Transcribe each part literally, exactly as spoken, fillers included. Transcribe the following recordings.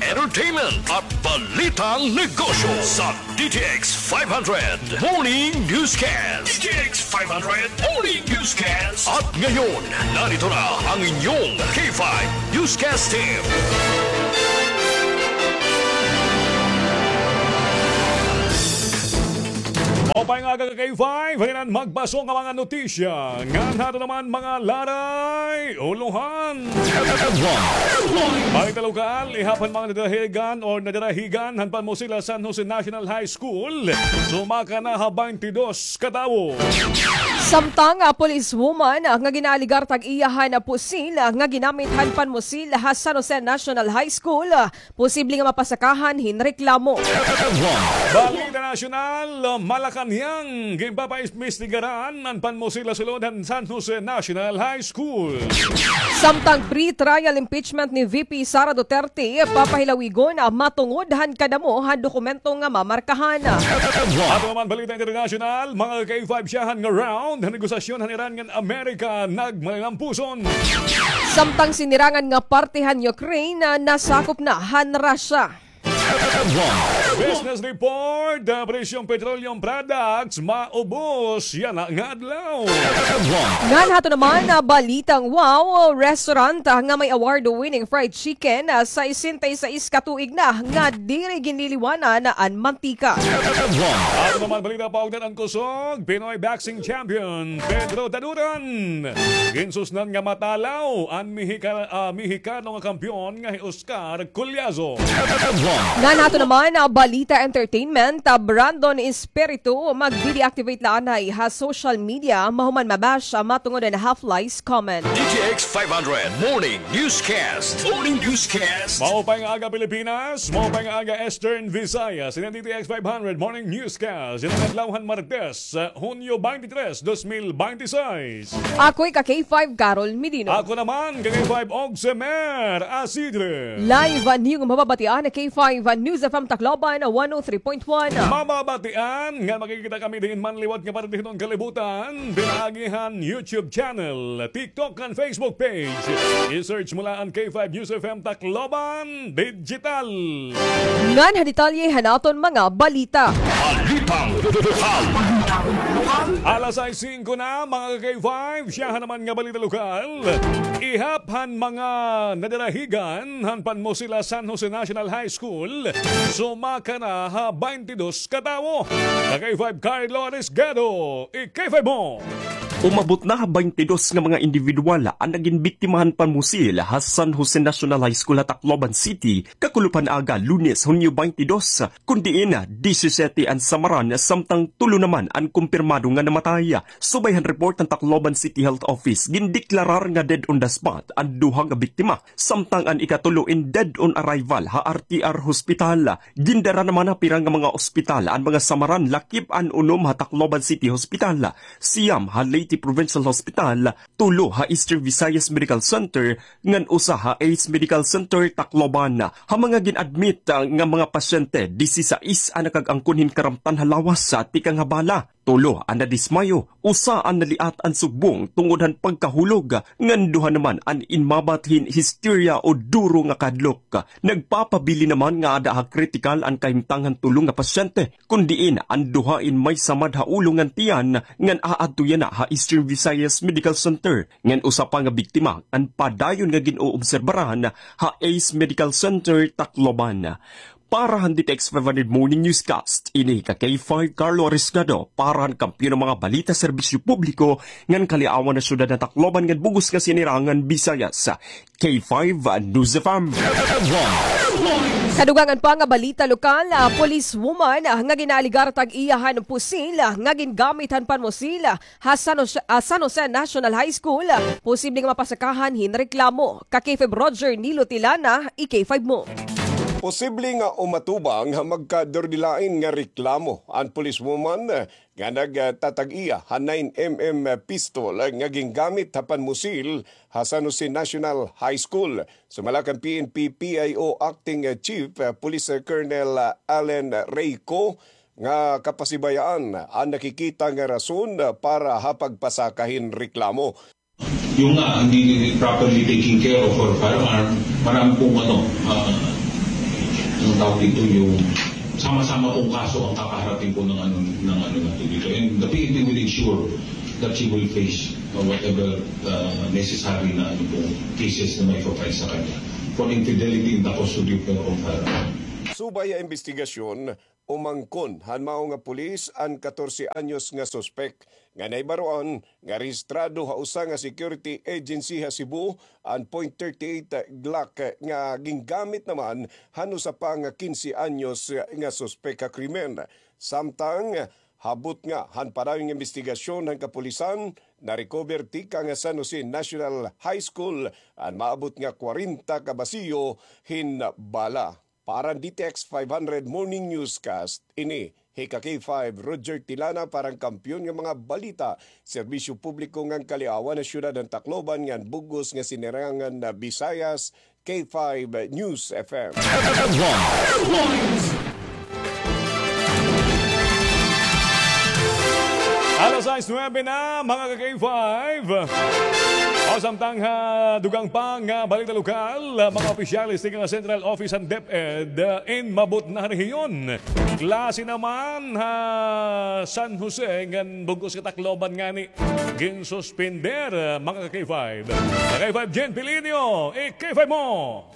entertainment at balitang negosyo sa D T X five hundred Morning Newscast. D T X five hundred Morning Newscast. At ngayon, narito na ang inyong K five Newscast Team. Maupay nga aga ka K five, halinan magbaso nga mga notisya. Ngan hato naman mga laray, ulohan. Balita lokal, ihap han mga nadarahigan or nadarahigan han panmusil ha San Jose National High School. Sumaka na ha baynte dos ka tawo. Samtang, ah, police woman, ah, nga ginaaligar tag iya han, ah, pusil, ah, nga ginamit han panmusil ha San Jose National High School, ah, posible nga mapasakahan hin reklamo. Balita nasyonal, Malacañang, ginpapaimbestigaran an panmusil ha sulod han San Jose National High School. Samtang pre-trial impeachment ni V P Sara Duterte, papahilawigon, ah, matungod han kadamo han dokumento nga mamarkahan. Ato naman balita internasyonal, mga K five, syahan nga round han negosasyon han Iran ngan Amerika nagmalilampuson. Samtang sinirangan nga parte han Ukraine, ah, nasakop na han Russia. Business report, ah, presyong petroleum products maubos yana nga adlaw. Ngan hato naman, ah, balitang wow, restaurant, ah, nga may award-winning fried chicken, ah, sesenta y seis ka tuig na nga diri ginliliwanan an mantika. Ato naman balita, paugnat an kusog, Pinoy boxing champion Pedro Taduran. Ginsusnan nga matalaw an Mexika-, ah, Mexicano nga kampeon nga hi Oscar Collazo. Ngan hato naman, ah, balita entertainment, ah, Brandon Espiritu magde-deactivate la anay ha social media mahuman ma-bash, ah, matungod han half-lies comment. D T X five hundred Morning Newscast. Morning Newscast. Maupay nga aga, Pilipinas. Maupay nga aga, Eastern Visayas. Ini an D T X five hundred Morning Newscast. Yana nga adlaw han Martes, ah, Hunyo twenty-three, dos mil twenty-six. Ako ika K five, Carol Medino. Ako naman, ka K five, Ogsemer Asidre. Live, ah, niyo nga mababatian, K five, ah, News F M Tacloban, one oh three point one. Mababatian nga makikita kami diin man liwat nga parte hiton kalibutan, pinaagi han YouTube channel, TikTok, ngan Facebook page. I-search mo la an K five News F M Tacloban Digital. Ngan ha detalye han aton mga balita. Balitang lokal. Alas sais singko na, mga ka K five, syahan naman nga balita lokal. Ihap han mga nadarahigan han panmusil ha San Jose National High School, sumaka na ha baynte dos ka tawo. Ka K five, Carlo Arisgado, i-K five mo. Umabot na ha baynte dos nga mga indibidwal an nagin biktima han panmusil ha San Jose National High School ha Tacloban City, kakulop han aga, Lunes, Hunyo twenty-two, kun diin disisiyete an samaran, samtang tulo naman an kumpirmado nga namatay. Subay han report han Tacloban City Health Office, gindeklarar nga dead on the spot an duha nga biktima, samtang an ikatulo in dead on arrival ha R T R Hospital. Gindara naman ha pira nga mga ospital an mga samaran, lakip an unom ha Tacloban City Hospital, siyam ha Leyte Provincial Hospital, tulo ha Eastern Visayas Medical Center, ngan usa ha Ace Medical Center, Tacloban. Ha mga gin-admit, ah, nga mga pasyente, disisais an nakag-angkon hin karamtan ha lawas, ah, tikang ha bala. Tulo an nadismayo, usa an naliat an sugbong tungod han pagkahulog, ngan duha naman an inmabat hin histerya o duro nga kahadlok. Nagpapabilin naman nga aada ha kritikal an kahimtang han tulo nga pasyente, kun diin an duha in may samad ha ulo ngan tiyan, ngan aadto yana ha Eastern Visayas Medical Center, ngan usa pa nga biktima an padayon nga gin-oobserbaran ha Ace Medical Center, Tacloban. Para han D T X five hundred Morning Newscast, ini ka K five Carlo Arisgado, para han Kampiyon nga mga Balita, Serbisyo Publiko, ngan Kaliawan ha Syudad han Tacloban ngan bug-os nga Sinirangan Visayas, K five News F M. Kadugangan pa nga balita lokal, ah, police woman, ah, nga ginaaligar tag iya han pusil, ah, nga gingamit han panmusil, ah, ha San Jose, ah, San Jose National High School, posible nga mapasakahan hin reklamo. Ka K five Roger Nilo Tilana, i-K five mo. Posible nga umatubang ha magkadurdilain nga reklamo an policewoman nga nagtatag-iya ha nine M M pistol nga gingamit ha panmusil ha San Jose National High School. Sumala kan P N P P I O Acting Chief Police Colonel Allen Reyco, nga kapasibayaan an nakikita nga rason para ha pagpasaka hin reklamo. Yung nga, hindi properly taking care of her firearm, marami pong ano, ah, Ang tawag dito, yung sama-sama pong kaso ang kakaharapin po ng ano, ng ano natin dito. And the P N P will ensure that she will face, uh, whatever, uh, necessary na ano pong cases na may file sa kanya for infidelity in the custody of her. Subay ha imbestigasyon, umangkon han mao nga pulis an katorse anyos nga suspek nga nahibaroan nga rehistrado ha usa nga security agency ha Cebu an point thirty-eight Glock nga gingamit naman han usa pa nga kinse anyos nga suspek ha krimen. Samtang ha butnga han padayon nga imbestigasyon han kapulisan, na-recover tikang San Jose National High School an maabot nga kwarenta ka basiyo hin bala. Para han D T X five hundred Morning Newscast, ini hi ka K five Roger Tilana para han Kampiyon nga mga Balita, Serbisyo Publiko ngan Kaliawan ha Syudad han Tacloban ngan bug-os nga Sinirangan na Visayas, K five News F M. Alas sais nuebe na, mga ka-K five. O, samtang ha dugang pa nga balita lokal, mga opisyales tikang Central Office han DepEd, in mabutnga nga rehiyon. Klase naman ha San Jose ngan bug-os nga Tacloban ngani ginsuspender, mga ka-K five. Ka-K five Jen Pilinio, i-K five mo!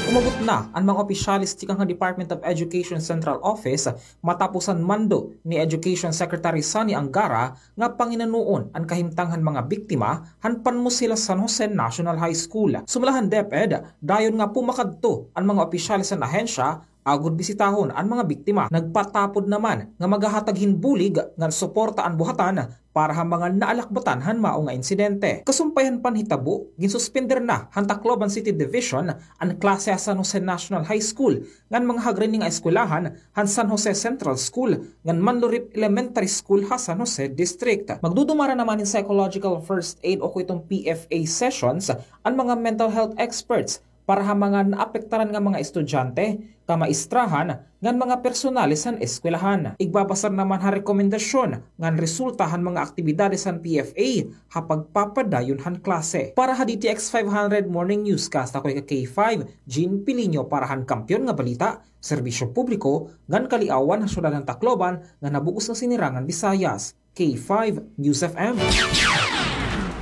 Umabot na an mga opisyales tikang ha Department of Education Central Office matapos an mando ni Education Secretary Sonny Angara nga panginunoon an kahimtang han mga biktima han panmusil ha San Jose National High School. Sumala han DepEd, dayon nga pumakadto an mga opisyales han ahensya agod bisitahon an mga biktima. Nagpatapod naman nga maghahatag hin bulig ngan suporta an buhatan para ha mga naalakbatan han mao nga insidente. Kasumpay han panhitabo, ginsuspender na han Tacloban City Division an klase ha San Jose National High School ngan mga hagrini nga eskwelahan han San Jose Central School ngan Manlurip Elementary School ha San Jose District. Magdudumara naman hin psychological first aid o kuiton P F A sessions an mga mental health experts para ha mga naapektaran nga mga estudyante, kamaistrahan, ngan mga personalis han eskwelahan. Igbabasar naman ha rekomendasyon ngan resulta han mga aktibidades han P F A ha pagpapadayon han klase. Para ha D T X five hundred Morning Newscast, ako hi ka K five, Jean Pilinio para han Kampiyon nga Balita, Serbisyo Publiko, ngan Kaliawan ha Syudad han Tacloban, ngan ha bug-os nga Sinirangan Visayas. K five News F M.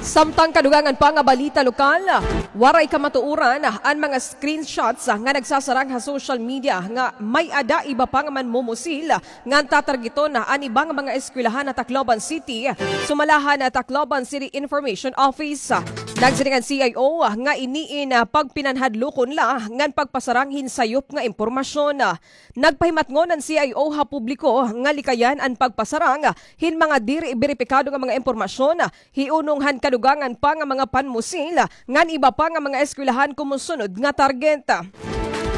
Samtang kadugangan pa nga balita lokal, waray kamatuoran an mga screenshots nga nagsasarang ha social media nga may-ada iba pa nga manmumusil ngan tatargeton an iba nga mga eskwelahan ha Tacloban City, sumala han Tacloban City Information Office. Nagsiring an C I O nga ini in pagpinanhadlokon la ngan pagpasarang hin sayop nga impormasyon. Nagpahimatngon an C I O ha publiko nga likayan an pagpasarang hin mga diri beripikado nga mga impormasyon, hiunong han kadugangan pa nga mga panmusil ngan iba pa nga mga eskwelahan komo sunod nga target.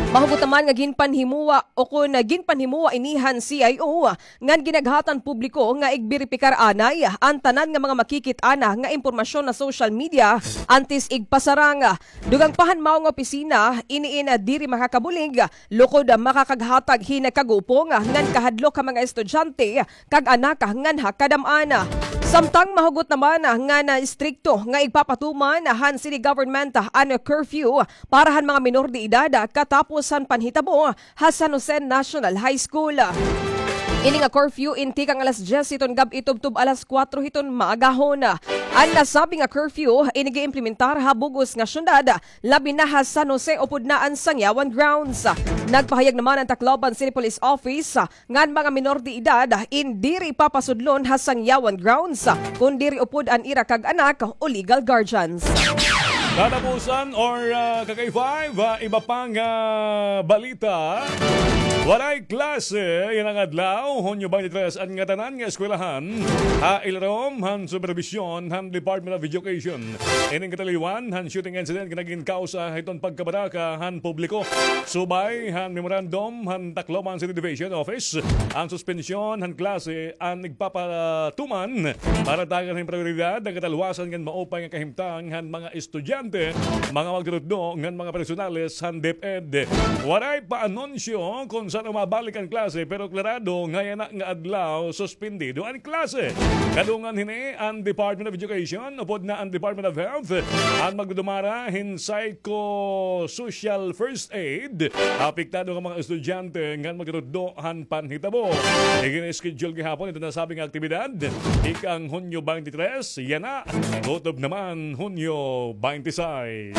Mahugot naman nga ginpanhimoa o kon ginpanhimoa ini han C I O ngan ginaghatan publiko nga igberipikar anay an tanan nga mga makikit-an nga impormasyon ha social media antes igpasarang. Dugang pa han mao nga opisina, ini in diri makakabulig, lukod makakaghatag hin kagupong ngan kahadlok ha mga estudyante kag anak ngan ha kadam-an. Samtang mahugot naman nga na istrikto nga igpapatuman han city government an curfew para han mga minor de edad katapos han panhitabo ha San Jose National High School. Ini nga curfew in tikang alas dyes hiton gab-i tubtob alas kuwatro hiton maagahon. An nasabi nga curfew ini giimplementar ha bug-os nga syudad, labi na ha San Jose upod na an Sangyawan Grounds. Nagpahayag naman an Tacloban City Police Office nga an mga minor de edad in diri papasudlon ha Sangyawan Grounds, kon diri upod an ira kag anak o legal guardians. Katapusan or, ah, ka-K five, ah, iba pang, ah, balita. Waray klase yana nga adlaw, Hunyo twenty-three, an ngatanan nga eskwelahan ha ilarom han superbisyon han Department of Education. Ining kataliwan han shooting incident nga nagin kawsa hiton pagkabaraka han publiko. Subay han memorandum han Tacloban City Division Office, an suspensyon han klase an igpapatuman para tagan hin prayoridad an katalwasan ngan maupay nga kahimtang han mga estudyante. mga magtutdo ngan mga personales han DepEd. Waray pa anunsyo kon san-o mabalik an klase, pero klarado nga yana nga adlaw suspindido an klase. Kadungan hini an Department of Education, upod na an Department of Health, an magdudumara hin psychosocial first aid, apektado nga mga estudyante ngan magtutdo han panhitabo. Igin-schedule gihapon iton nasabi nga aktibidad ikang Hunyo twenty-three, yana, kutob naman Hunyo twenty-six.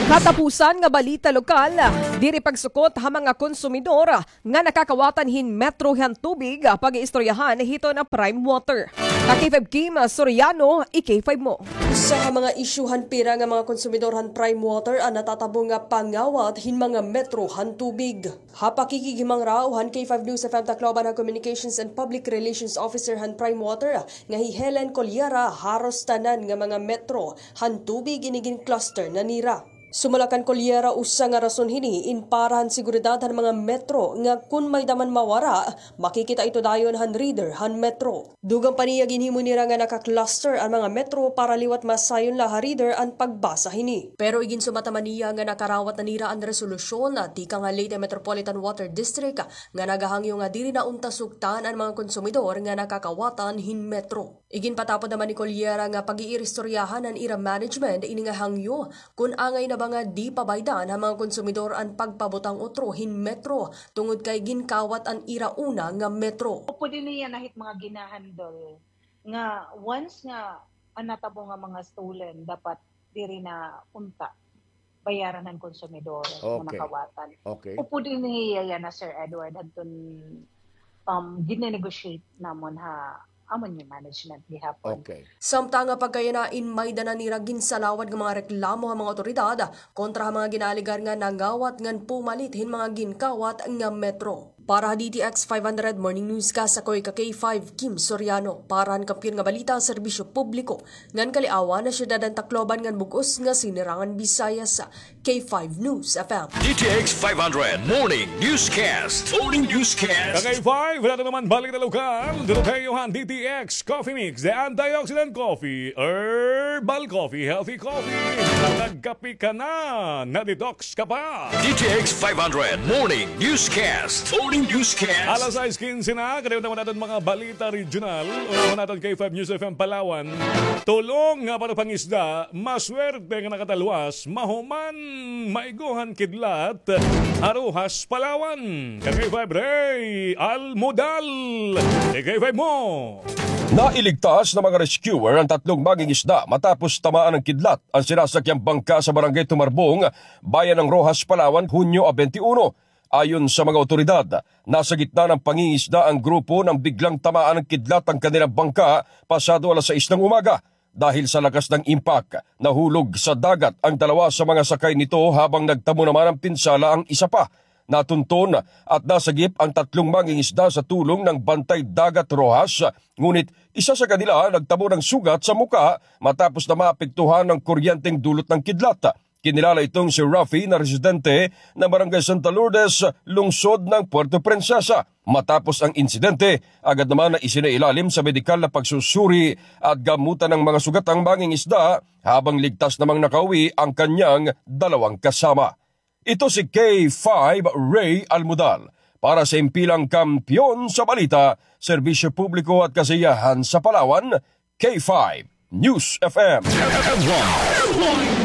Katapusan nga balita lokal, diri pagsukot ha mga konsumidor nga nakakawatan hin metro han tubig, pag-iistoryahan hiton Prime Water. Ka K five Kim Soriano, i-K five mo. Usa ha mga isyu han pira nga mga konsumidor han Prime Water an natatabo nga pangawat hin mga metro han tubig. Ha pakikighimangraw han K five News F M Tacloban han Communications and Public Relations Officer han Prime Water nga hi Helen Colliera, haros tanan nga mga metro han tubig ini gin-cluster na nira. Sumala kan Colliera, usa nga rason hini in para han seguridad han mga metro nga kun may-da man mawara, makikita ito dayon han reader han metro. Dugang pa niya, ginhimo nira nga naka-cluster an mga metro para liwat masayon la ha reader an pagbasa hini. Pero iginsumata man niya nga nakarawat na nira an resolusyon tikang ha Leyte Metropolitan Water District nga nagahangyo nga diri na unta sugtan an mga konsumidor nga nakakawatan hin metro. Iginpatapod naman ni Colliera nga pag-iiristoryahan an ira management ini nga hangyo, kun angay na ba nga di pabaydan ha mga konsumidor an pagpabutang utro hin metro tungod kay ginkawat an ira una nga metro. Upod ini yana hit mga ginahandle nga once nga an natabo nga mga stolen, dapat diri na unta bayaran han konsumidor nga nakawatan. Okay. Upod ini yana, Sir Edward, hadton, um, gine-negotiate namon ha amon nga management gihapon. Okay. Samtang ha pagkayana in may-da na nira ginsalawad nga mga reklamo ha mga awtoridad kontra ha mga ginaalegar nga nangawat ngan pumalit hin mga ginkawat nga metro. Para ha D T X five hundred Morning Newscast, ako hi ka K five Kim Soriano. Para han Kampiyon nga Balita, Serbisyo Publiko ngan Kaliawan, ha syudad han Tacloban ngan bug-os nga Sinirangan Visayas, K five News F M. D T X five hundred Morning Newscast. Morning Newscast. Ka K five, wala na naman balik na lokal. Dito tayo han D T X Coffee Mix, the antioxidant coffee, herbal coffee, healthy coffee. Nagkape ka na, na-detox ka pa. D T X five hundred Morning Newscast. Morning Newscast. Alas sais kinse na, kadiyot naman aton mga balita regional. Unahon naton K five News F M Palawan. Tulong nga para pangisda, maswerte nga nakatalwas, mahuman, maigo han kidlat ha Roxas, Palawan. Ka K five Ray Almudal. Ka K five mo. Nailigtas ng mga rescuer ang tatlong mangingisda matapos tamaan ng kidlat ang sinasakyang bangka sa Barangay Tumarbong, Bayan ng Roxas, Palawan, Hunyo twenty-one. Ayon sa mga otoridad, nasa gitna ng pangingisda ang grupo nang biglang tamaan ng kidlat ang kanilang bangka pasado alas sais ng umaga. Dahil sa lakas ng impact, nahulog sa dagat ang dalawa sa mga sakay nito habang nagtamo naman ng pinsala ang isa pa. Natunton at nasagip ang tatlong mangingisda sa tulong ng Bantay Dagat Roxas, ngunit isa sa kanila nagtamo ng sugat sa mukha matapos na maapektuhan ng kuryenteng dulot ng kidlat. Kinilala itong si Rafi na residente ng Barangay Santa Lourdes, lungsod ng Puerto Princesa. Matapos ang insidente, agad naman na isinailalim sa medikal na pagsusuri at gamutan ng mga sugatang mangingisda, habang ligtas namang nakauwi ang kanyang dalawang kasama. Ito si K five Ray Almudal para sa Impilang Kampiyon sa Balita, Serbisyo Publiko at Kasiyahan sa Palawan, K five News F M.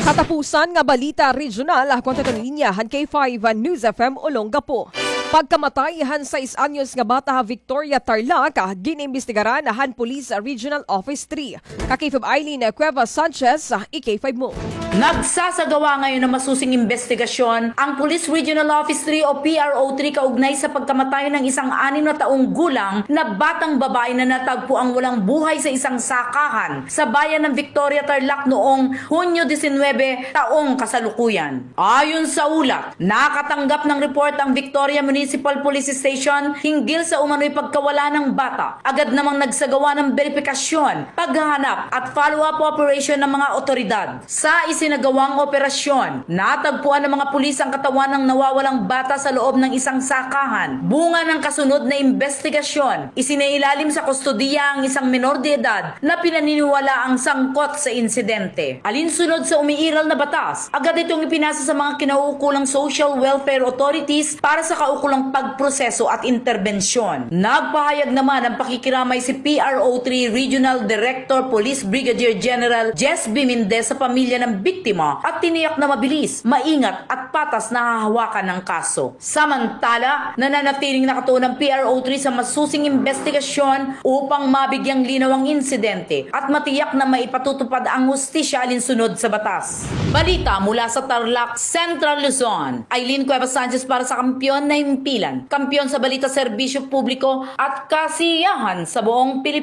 Katapusan nga balita regional, ako an taton linya han K five News F M Olongapo. Pagkamatay han sais anyos nga bata ha Victoria, Tarlac, gin-imbestigaran han Police Regional Office three. Ka K five Eileen Cuevas Sanchez, i-K five mo. Nagsasagawa ngayon ng masusing imbestigasyon ang Police Regional Office three o P R O three kaugnay sa pagkamatay ng isang anim na taong gulang na batang babae na natagpo ang walang buhay sa isang sakahan sa bayan ng Victoria, Tarlac noong Hunyo disinwebe taong kasalukuyan. Ayon sa ulat, nakatanggap ng report ang Victoria Municipal Police Station hinggil sa umano'y pagkawala ng bata. Agad namang nagsagawa ng beripikasyon, paghahanap at follow-up operation ng mga otoridad. Sa isinagawang operasyon, natagpuan ng mga pulis ang katawan ng nawawalang bata sa loob ng isang sakahan. Bunga ng kasunod na imbestigasyon, isinailalim sa kustodiya ang isang menor de edad na pinaniniwalaang sangkot sa insidente. Alinsunod sa umiiral na batas, agad itong ipinasa sa mga kinauukulang social welfare authorities para sa kaukulang pagproseso at interbensyon. Nagpahayag naman ng pakikiramay si P R O three Regional Director Police Brigadier General Jess B. Mendez sa pamilya ng biktima at tiniyak na mabilis, maingat at patas na hahawakan ang kaso. Samantala, nananatiling nakatuon ang P R O three sa masusing imbestigasyon upang mabigyang linaw ang insidente at matiyak na maipatutupad ang hustisya alinsunod sa batas. Balita mula sa Tarlac, Central Luzon. Aileen Cuevas Sanchez para sa Kampiyon na Himpilan. Kampiyon sa balita, serbisyo publiko at kasiyahan sa buong Pilipinas.